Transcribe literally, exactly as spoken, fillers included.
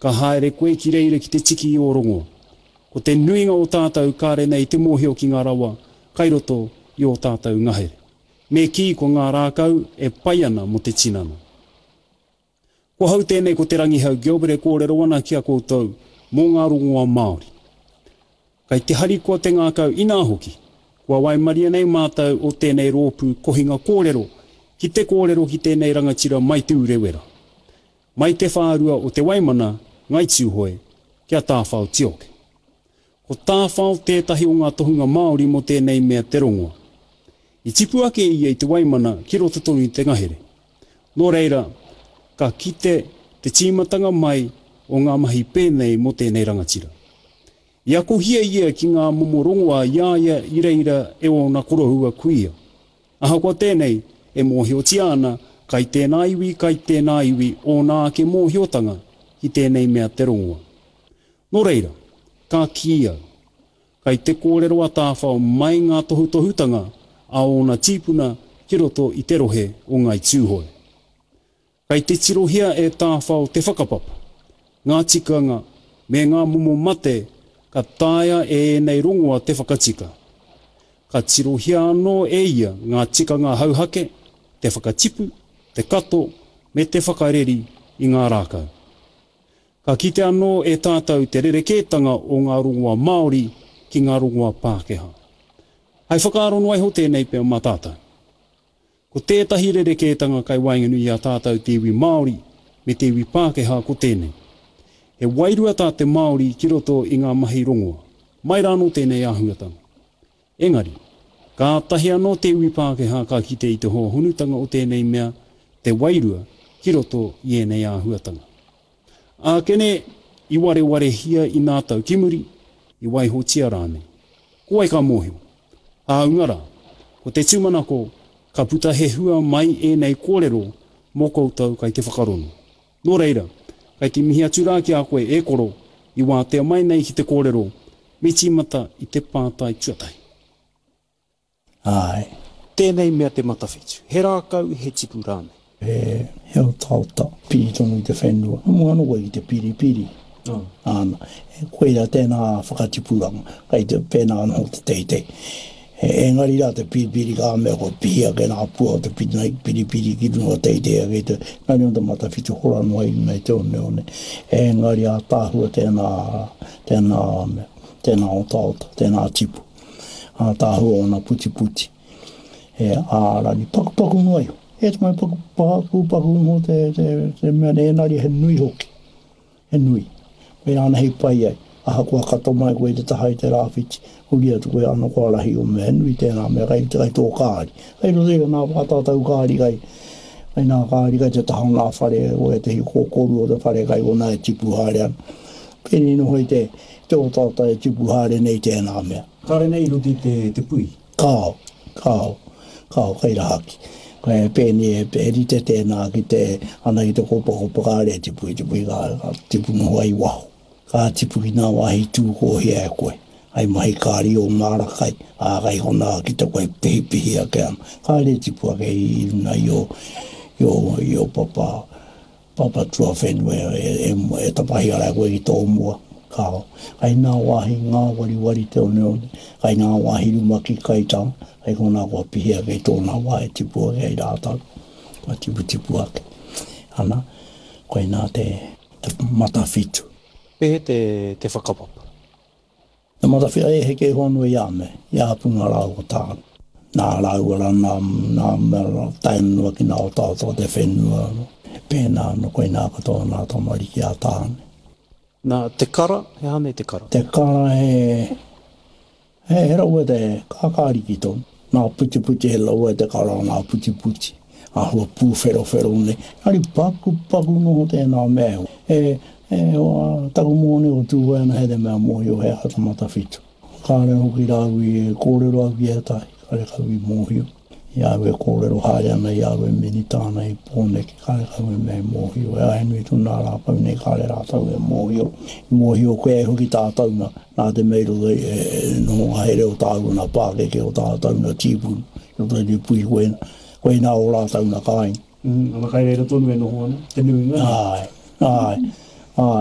Ka haere koe ki reira ki te tiki i ō rongoa. Ko te nuinga o tātou kāre nei te mōhio ki ngā rawa kai roto i ō tātou ngahere. Me kī ko ngā rākau e pai ana mō te tinana. Ko hau tēnei ko Te Rangihau Gilbert e kōrero ana ki a koutou mō ngā rongoa Māori. Kai te harikoa te ngākau inā hoki, kua waimaria nei mātou o tēnei rōpū kohinga kōrero ki te kōrero ki tēnei rangatira mai Te Urewera. Mai te whārua o Te Waimana, Ngai Tūhoe, ki a Tāwhao Tioke. Ko Tāwhao tētahi o ngā tohunga Māori mō tēnei mea te rongoa. I tipu ake ia i Te Waimana ki roto tonu i te ngahere. Nō reira, ka kite te tīmatanga mai o ngā mahi pēnei mō tēnei rangatira. I akohia ia ki ngā momo rongoa i a ia i reira e ōna koroua kuia. Ahakoa tēnei, e mōhiotia ana kai tēnā iwi, kai tēnā iwi ōna ake mōhiotanga ki tēnei mea te rongoa. Nō reira, ka kī au, kai te kōrero a Tāwhao mai ngā tohutohutanga a ōna tīpuna ki roto i te rohe o Ngāi Tūhoe. Kai te tirohia e Tāwhao te whakapapa, ngā tikanga me ngā momo mate ka taea e ēnei rongoa te whakatika. Ka tirohia anō e ia ngā tikanga hauhake, te whakatipu, te kato me te whakareri i ngā rākau. Ka kite anō e tātou te rerekētanga o ngā rongoa Māori ki ngā rongoa Pākehā. Hai whakaaro noa iho tēnei pea mā tātou. Ko tētahi rerekētanga kai waenganui i a tātou te iwi Māori me te iwi Pākehā ko tēnei. He wairua tā te Māori ki roto i ngā mahi rongoa. Mai rānō tēnei āhuatanga. Engari, kātahi anō te iwi Pākehā ka kite i te hōhonutanga o tēnei mea, te wairua, ki roto i ēnei āhuatanga. Ākene, i warewarehia i nā tau ki muri, i waihotia rānei. Ko wai ka mōhio? Hāunga rā, ko te tūmanako, ka puta he hua mai ēnei kōrero mō koutou kai te whakarongo. Nō reira, kai te mihi atu rā ki a koe e koro, i wātea mai nei ki te kōrero, me tīmata i te pātai tuatahi. Āe. Tēnei mea te matawhitu, he rākau, he tipu rānei? He, he otaota, piri tonu i te whenua. Mua anō koe ki te piripiri. Āna. Koira tēnā whakatipuranga, kai te pēnā anō te teitei. Engari rā te piripiri ka mea kua pihi ake nā pua o te piripiri ki runga teitei ake i te, engari o te matawhitu hora noa i runga i te oneone. Engari ātaahua tēnā, tēnā mea, tēnā otaota, tēnā tipu. Ātaahua ōna putiputi. E ārani, pakupaku noa iho. E te mai paku, paku, paku noa te, te, te mea nei, engari he nui hoki. He nui. Koirā ana hei pai ai. Ahakoa kato mai koe i te taha i te rāwhiti, huri atu koe ano kua rahi o mea, he nui tērā mea kai kai tō kāri. Kai roto i nā wā tātou kāri kai, kai nā kāri kai te taha o nā whare, o ētehi kōkoru o te whare kai konā e tipu haere ana. Pēnei noho i te, te otaota e tipu haere nei tēnā mea. Kāre nei i roto i te, te pui? Kāo, kāo, kāo, kai rahaki. Kai pēnei e, e rite tēnā ki te, ana ki te kopakopa kāre e tipu i te pui, ka, ka tipu noho ai waho. Ka tipu ki nā wāhi tūkōhia e koe, hai mahi kāri o māra kai, ā, kai konā ki te koe pihipihi ake ana. Kāre e tipu ake i runa i o, i o, i o papa, papa tuawhenua e, e, e tapahi ara e koe ki tō mua. Kāo. Kai nā wāhi ngāwariwari te oneone, kai nā wāhi rumaki kaitā, kai konā kua pihi ake i tōna wā e tipu ake ai rātou, kua tiputipu ake. Ana, koinā te, te matawhitu. Pēhea te, te whakapapa? Te matawhia e heke iho anō i a me, i a Punga rāua ko Tāne. Nā rāua rā, nā, nā mea rā, tae noa ki nā otaota o te whenua. He pēnā anō, koinā katoa nā tamariki a Tāne. Nā, te kara, he aha nei te kara? Te kara he, he, he rawe te kākāriki tonu. Nā putiputi he rawe te kara, nā putiputi. Āhua pūwherowhero nei. Engari pakupaku noho tēnā mea. E, e, o, taku mōne o Tūhoe ana he te mea mōhio he aha te matawhitu. Kāre hoki rāu i e kōrero au ki ētahi, kāre kau i mōhio. I a au e kōrero haere ana, i a au e minita ana i Pōneke, kāre kau e mea e mōhio. E āe nui tonu nā rākau nei, kāre rātou e mōhio. I mōhio koe ai hoki tātou nā, nā te mea i roto i e noho ngahere o tāua nā pākeke o tātou nā tīpuna, i roto i te pui koina, koina o rātou nā kāinga. Mm, ana kai reira tonu e noho ana, te nuinga. Āe, āe, āe.